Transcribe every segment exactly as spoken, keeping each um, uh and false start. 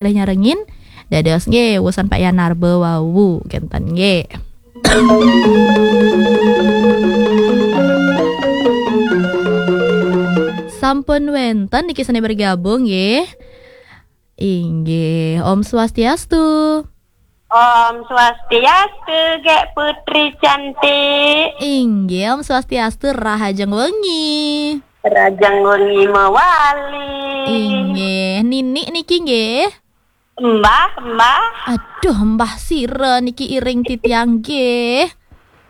malih nyarengin. Dados nggih, wusan Pak Yanarba wau, kenten nggih. Sampun wenten niki sane bergabung nggih. Inggih, Om Swastiastu. Om Swastiastu, Gek Putri cantik. Inggih, Om Swastiastu, rahajeng wengi. Rahajeng wengi mawali. Inggih, Ninik niki nggih. Mbah, Mbah. Aduh, Mbah sira niki iring titiang nggih.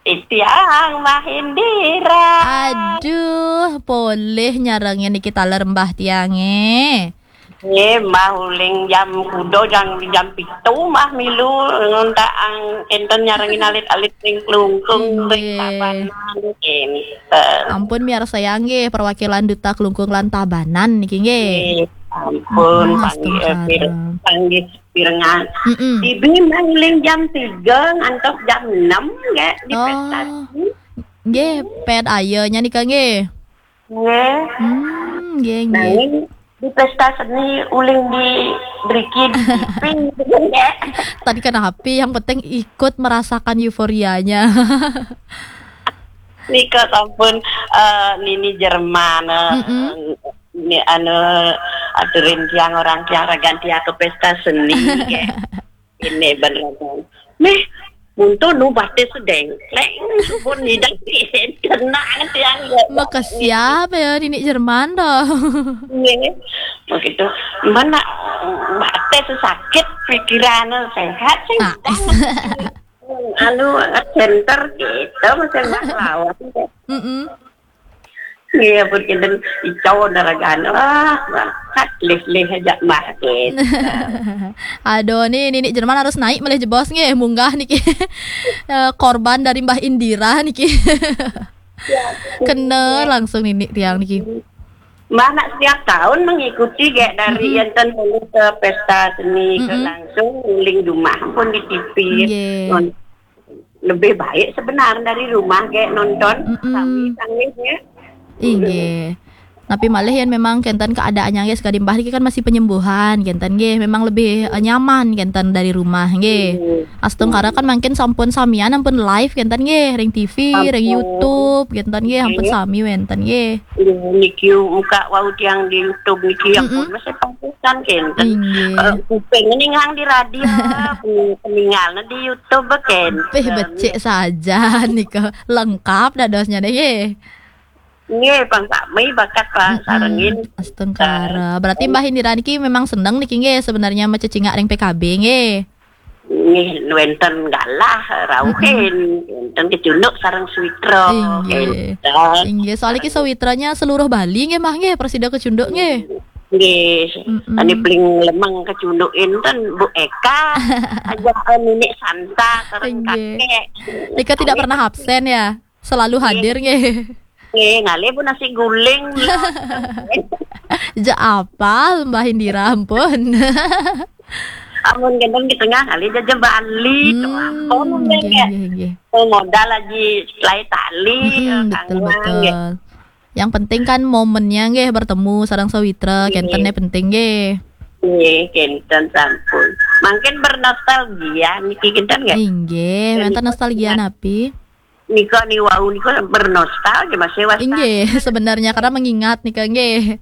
Titiang Mbah Indira. Aduh, polih nyarengin niki taler Mbah tiange. Nggih, Mbah uling jam kuda jam, jam pitu Mbah milu nguntak ang enten nyarengin alit-alit ring Klungkung, ring Nggih. Tabanan, enten. Ampun miarsa nggih perwakilan Duta Klungkung lan Tabanan niki nggih. Nggih, ampun, hmm, panggih, eh, pir-, panggih pirengan. Mm-mm. Tibi mangling jam tiga ngantos jam enam nggih di Oh. Pesta. Nggih, pet ayanya nika nggih. Nggih. Hmm, nggih, nggih. Nanging di pesta seni uling di driki di T V gitu, nggih. Tadi kan happy, yang penting ikut merasakan euforianya. Nika sampun, eh, Nini Jerman, eh, Mm-mm. Ini anu aturin tiang orang tiang ragan tiang ke pesta seni, nggih. Ini bener. Meh, untuk nu batis sedeng. Leng, pun nidang kena tiang, nggih. Maka siapa ya Nini Jerman toh? Nggih. Begitu. Mana batis sakit pikiran sehat sih. Ah. Anu center gitu, macam lawan. Mm-mm. Iya, pun kinten ico naragan. Wah, wah, kat lih-lih aja mah gitu. Aduh, nih Ninik Jerman harus naik malih jebos nggih, munggah niki. Eh, korban dari Mbah Indira niki. Ya, kena iya. Langsung Ninik tiang niki. Mbah nak setiap tahun mengikuti kayak dari Mm-mm. Enten dulu ke pesta seni ke Mm-mm. Langsung nguling rumah pun di T V. Nggih. Non-, lebih baik sebenarnya dari rumah kayak nonton Mm-mm. Sami sangisnya. Inggih. Tapi malih yen memang kenten keadaannya nggih sekadi Mbah niki kan masih penyembuhan kenten nggih, memang lebih, eh, nyaman kenten dari rumah nggih. Nggih. Astungkara kan mangkin sampun samian ampun live kenten nggih ring T V, ring Ampun. YouTube kenten nggih, ampun Nggih. Sami wenten nggih. Nggih, niki muka wau tiang di YouTube niki ampun Mm-mm. masih pangkusan kenten. Inggih. Eh, kuping ningang di radio, pening-, peningalnya di YouTube kenten. Pih becik saja nika. Lengkap dadosnya deh nggih. Nggih, pang sami bakat pang Mm-mm. Sarengin. Astungkara. Berarti Mbah Indira niki memang seneng niki nggih sebenarnya macecingak ring P K B nggih. Nggih, wenten galah rauhin, Mm-mm. wenten kecunduk sareng sawitra. Inggih. Wenten. Inggih, soalnya ki sawitranya seluruh Bali nggih Mbah nggih, prasida kecunduk nggih. Nggih. Mm-mm. Ane paling lemeng kecunduk enten Bu Eka, aja Ninik Santa sareng Inggih. Kakek. Nika tidak Ane pernah absen ya? Selalu Nggih. Hadir nggih. Nggih, ngalih pun nasi guling. Ja apal Mbah Indira ampun. Amun gendong di tengah kali jaja Bali, tuh Hmm, ampun nggih, nggih. Nggih, nggih. Tuh modal lagi selai tali, Mm-mm, eh, betul, kangen, betul. Nggih. Yang penting kan momennya nggih bertemu sareng sawitra, Nggih. Kenten penting nggih. Nggih, kenten sampun. Mangkin bernostalgia niki kenten nggih? Inggih, wenten nostalgia napi? Nika ni wau nika bernostalgia masih was. Inggih, sebenarnya karena mengingat nika nggih.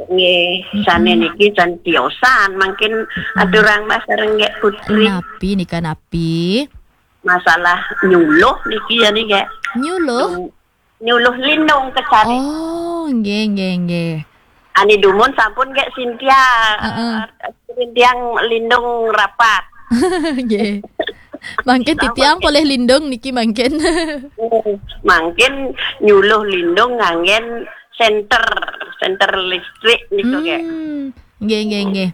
Nggih, mm-mm. Sane niki can tiosan mangkin mm-mm. Aturang Mas Renggek Putri. Napi nika napi? Masalah nyuluh niki ya nih, Gek. Nyuluh? Nyuluh lindung kecari. Oh, nggih, nggih, nggih. Ani dumun sampun Gek Sintia. Heeh. Sintia lindung rapat. Nggih. Mangkin titiang polih lindung niki mangkin. Mangkin nyuluh lindung nganggen senter, senter listrik niku, Gek. Hmm. Nggih, nggih, nggih.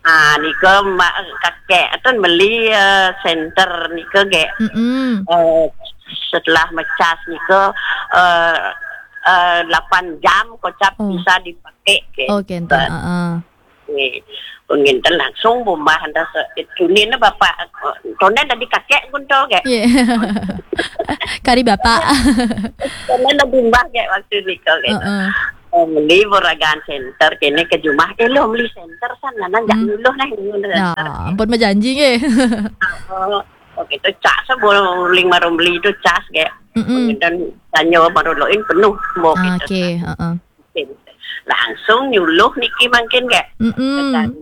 Ah, nika Mbak kakek ten beli, eh, senter nika, Gek. Mm-mm. Eh, setelah mecas nika, eh, eh, delapan jam kocap Oh. Bisa dipakai, Gek. Oh, kenten, heeh. Nggih. Pun ngenten langsung bumbah anda se-, tunin bapak, eh, tonden tadi kakek gunto, Gek. Nggih. Kari bapak. Tonden bumbah, Gek, waktu nika, Gek. Heeh. Oh, meli bo ragaan senter kene ke jumah. Eh, lo meli senter san, nana jak Hmm. nyuluh nah, ngono. Ya, ampun, bejanji nggih. Oh, oh, gitu. Cas bo ling maro meli tu cas ge. Mm-mm. Dan tanyo maro loin penuh bo gitu. Oke, heeh. Langsung nyuluh niki mangkin ge. Mm-mm. Kecari,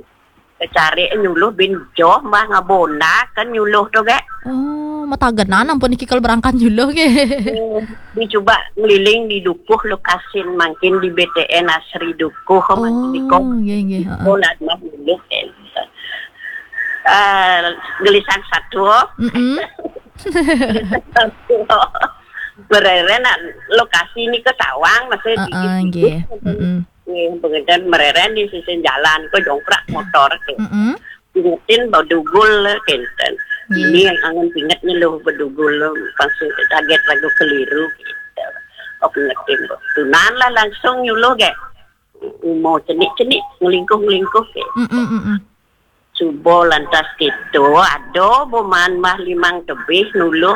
kecari nyuluh bin joh mah ngabona kan nyuluh tu ge. Oh, matagenan ampun niki kalau berangkat nyuluh ge. Hmm, dicuba ngeliling di dukuh lokasin mangkin di B T N Asri Dukuh mangkin di Oh, nggih, nggih, heeh. Kolat mah nyuluh kan. Eh, gelisang satu. Mm-mm. Gelisang satu. Bereren nak lokasi ni ke sawang masih Heeh, dikit-dikit. Nggih. Mm-mm. Nggih, pengedan mereren di sisi jalan, ko jongkrak motor ke. Mm-mm. Ingetin bedugul le kenten. Nggih. Ini yang angen pinget nyeluh bedugul le, pasti kaget ragu keliru gitu. Oh, ingetin bo. Tunan lah langsung nyuluh ge. Mau cenik-cenik, ngelingkuh-ngelingkuh ke. Mm-mm, mm-mm. Subo lantas gitu, ado bo maan mah limang tebih nuluh,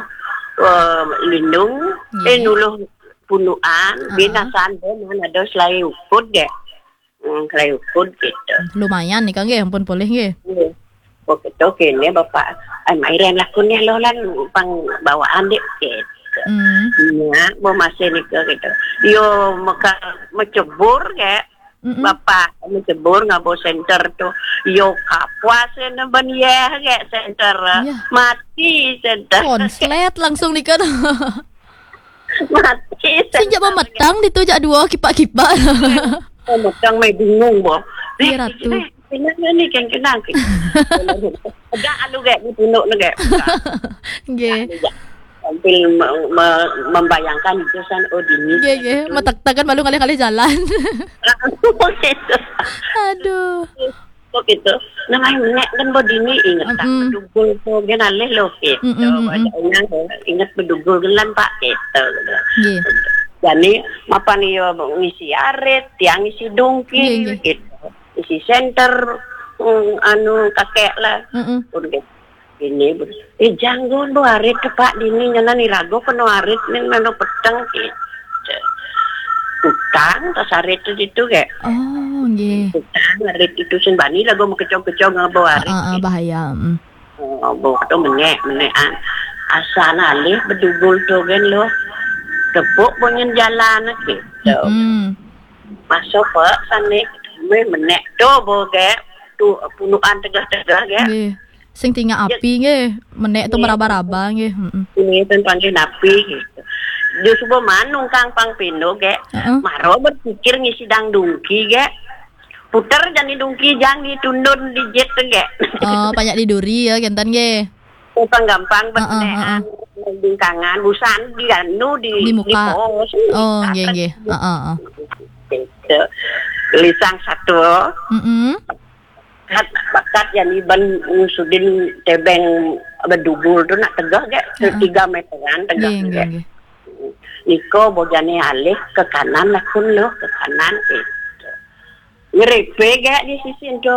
eh, lindung, eh, Nggih. nuluh punuan, Heeh. Binasan bo maan ado selai ukud ge. Hmm, selai ukud gitu. Lumayan nih, Kang, nggih, ampun polih nggih. Nggih. Oh, gitu, kene Bapak, "Ai, mairen lakun ya lo lan pang bawaan dek," gitu. Hmm. Nya, bo masih nika gitu. Yo, meka, mecebur ge. Mm-mm. Bapak, mecebur ngabo senter tu. Yo, kapuas ne ben yeh ge senter. Iya. Mati senter. Konslet langsung nika. Mati senter. Sing jak memetang ditu jak dua kipak-kipak. Oh, metang mai bingung bo. Iya, Ratu. Eh, kenang ni, kan kenang. Agak alu ge ni tunduk ni ge. Nggih. Sambil me-, me-, membayangkan itu san, oh, dini. Nggih, nggih. Betul. Metektekan baru ngalih-ngalih jalan. Gitu. Aduh. Kok gitu. Namanya menek kan bo dini inget tak Mm-mm. bedugul tu gen alih lo gitu. Mm-mm, mm-mm. Wajahnya inget bedugul gelan Pak gitu. Nggih. Jadi mapan iyo ngisi arit, tiang ngisi dungki Nggih, nggih. gitu. Ngisi senter, mm, anu kakek lah. Mm-mm. Pun gitu. Ini, eh, janggon bo arit ke Pak dini, nyana ni rago keno arit ni mano peteng gitu. Utang tas arit tu ditu ge. Oh, nggih. Utang arit itu sing bani lagu mekecong-kecong ngabo arit. Ah, ah, ah, gitu. Bahaya. Mm. Oh, bo tu menek, menek an. Asal alih bedugul tu gen lo. Tepuk bo nyen jalan gitu. Mm-mm. Masuk pe sane me menek tu bo ge. Tu punuan tegah-tegah ge. Nggih. Sing tinggal Ya. api nggih, menek tu Nggih. meraba-raba nggih. Mm-mm. Ini tentang napi gitu. Dia subuh manung kang pang pindo ge. Heeh. Maro berpikir ngisi dang dungki ge. Puter jani dungki jang ditundun di jet ge. Oh, banyak diduri ya, kenten nggih. Gampang-gampang Heeh, benekan, heeh. Bingkangan, busan di anu, di, Di muka. di pos. Oh, nggih, nggih. Heeh, heeh. Gitu. Lisang satu. Mm-mm. Kat, bakat yang iban ngusudin tebeng bedugul tu nak tegah ge, Heeh. tiga meteran tegah Nggih, nggih, ge. nggih. Niko bojane alih ke kanan lah kun lo, ke kanan gitu. Ngerepe ge di sisi tu.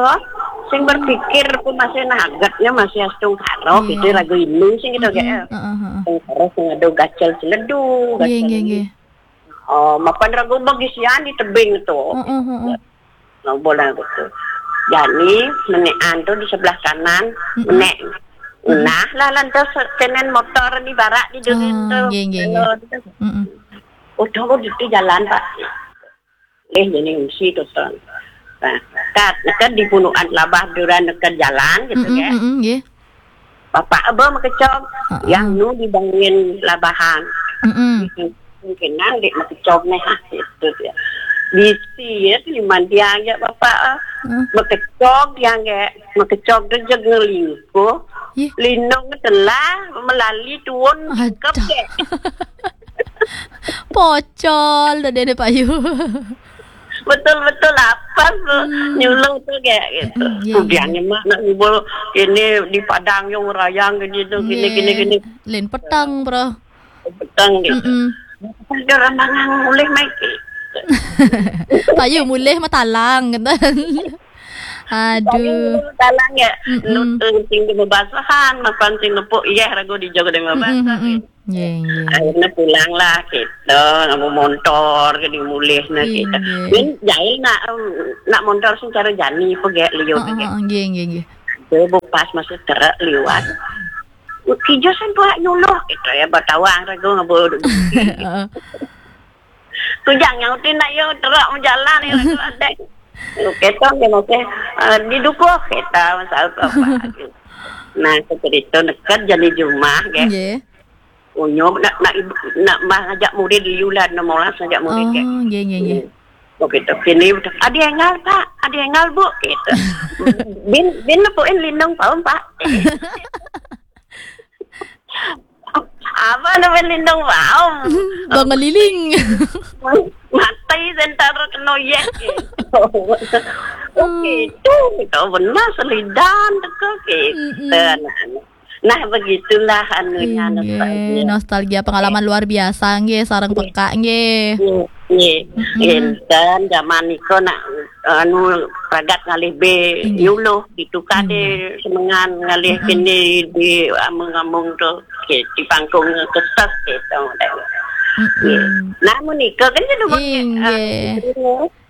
Sing berpikir pun masih nagetnya masih astungkara Nggih. gitu lagu ini sing gitu ge. Mm-mm, heeh, heeh. Astungkara sing ada gacel seledu, Nggih, gacel nggih, ini. nggih. Oh, mapan ragu bagi sian di tebing tu. Heeh, heeh. Nah, bola gitu. Jani menekan tu di sebelah kanan, Mm-mm. menek. Mm-mm. Nah, lah lantas kenen motor di barak di durin Ah, tu. nggih, nggih, Kalau nggih. gitu. Mm-mm. Oh, tunggu di jalan, Pak. Eh, jadi ngisi tu, Ton. Nah, kat, kat di punuan labah duran ke jalan gitu, Mm-mm, ya. mm-mm, nggih. Bapak aba makecog, Heeh. yang nu dibangin labahan. Mm-mm. Mungkin nang dek makecog neh, ah, gitu dia. Bisi ya, si mandiang ya bapak, ah. Heeh. Makecog yang ke, makecog tu jeg ngelingkuh. Yeh. Lindung telah melali tuun Aduh. kep dek. Pocol dah dia, dia payu. Betul-betul apa tu? Hmm. Nyuluh tu kayak gitu. Hmm, ya, Kemudian ya. Mak nak ngubul ini di Padang yang rayang gini tu, gini, Nggih. gini, gini. Lain petang, bro. Petang gitu. Mm-mm. Ada orang mangang mulih mai gitu. Payu mulih matalang gitu. Aduh. Dalang ya. Mm-mm. Nut, eh, sing di bebasahan, makan sing nepuk, iya, ragu di jogo di bebasahan. Mm-mm, mm-mm. Nggih, nggih. Akhirnya pulanglah kita, nganggo montor ke dimulih nah kita. Nggih. Min jahil nak, em, nak montor sing cara jani apa gek liur. Heeh, gek. Heeh, nggih, nggih, nggih. Itu bu pas masuk truk liwat. Kijo sen buat nyuluh kita ya batawang ragu ngabo. Heeh. Kujang nyautin nak yo truk menjalan ya ragu ada. Oke, tong dia masih, eh, didukuh kita masa apa. Nah, cerita dekat jani jumah gek. Nggih. Unyu nak, nak ibu, nak mah ngajak murid liulan, nak molas ngajak murid gek. Oh, nggih, nggih, nggih. Nggih. Oh, gitu. Kini udah, "Adi engal, Pak, adi engal, Bu," gitu. "Bin, bin lepuin lindung paum, Pak." Apa namanya lindung paum? Bang ngeliling. Mati sentara kena yek gitu. Oh, gitu, gitu. Benar selidan teko gitu. Mm-mm. Nah, nah, begitulah anunya, inggih, nostalgia. Nostalgia pengalaman luar biasa nggih, sareng peka nggih. Nggih, nggih. Mm-mm. Enten zaman nika nak anu pragat ngalih be, inggih, nyuluh ditukar, inggih, de semengan ngalih, mm-mm, kene di amung-amung tu. Nggih, di pangkung keses gitu. Mm-mm. Nggih. Nah, menika kan jadi, inggih, ah,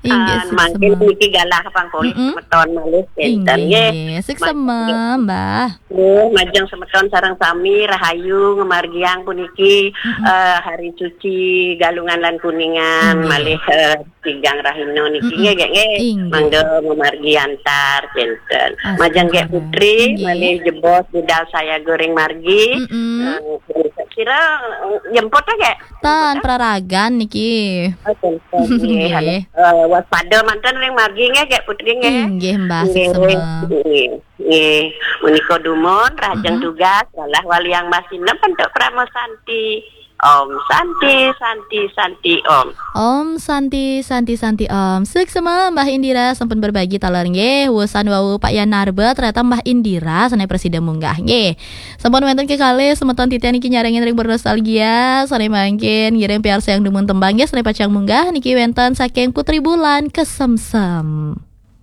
inggih, ah, sukses mangkin semua. Niki galah pangkulit, mm-mm, semeton malih, inggih, enten nggih. Nggih, sukses semua, Mbah. Nggih, majeng semeton sareng sami rahayu ngamargiang puniki, mm-mm, eh, hari suci Galungan lan Kuningan, inggih, malih, eh, tigang rahina niki, mm-mm, nggih, nggih. Inggih. Mangga mamargi antar, kinten. Majeng gek astungkara. Putri, inggih, malih jebos budal saya goreng margi. Mm-mm. Eh, kira, eh, jemput ya, gek? Tan, praragan niki. Oh, kinten, nggih. Nggih. Eh, waspada manten ring margi nggih, gek Putri nggih. Inggih, Mbah, nggih, sukses semua. Nggih. Nggih, menika dumun, rahajeng, mm-mm, tugas, galah waliang masinem bentuk Parama Santi. Om Santi, Santi, Santi, Om. Om Santi, Santi, Santi, Om. Suksma, Mbah Indira sampun berbagi taler nggih. Wusan wau Pak Yan Narba, ternyata Mbah Indira sané prasida munggah nggih. Sampun wénten kekalih semeton titiang niki nyarengin ring bernostalgia, sané mangkin ngiring piarsayang dumun tembang nggih, sané pacang munggah niki wénten saking Putri Bulan, Kesemsem.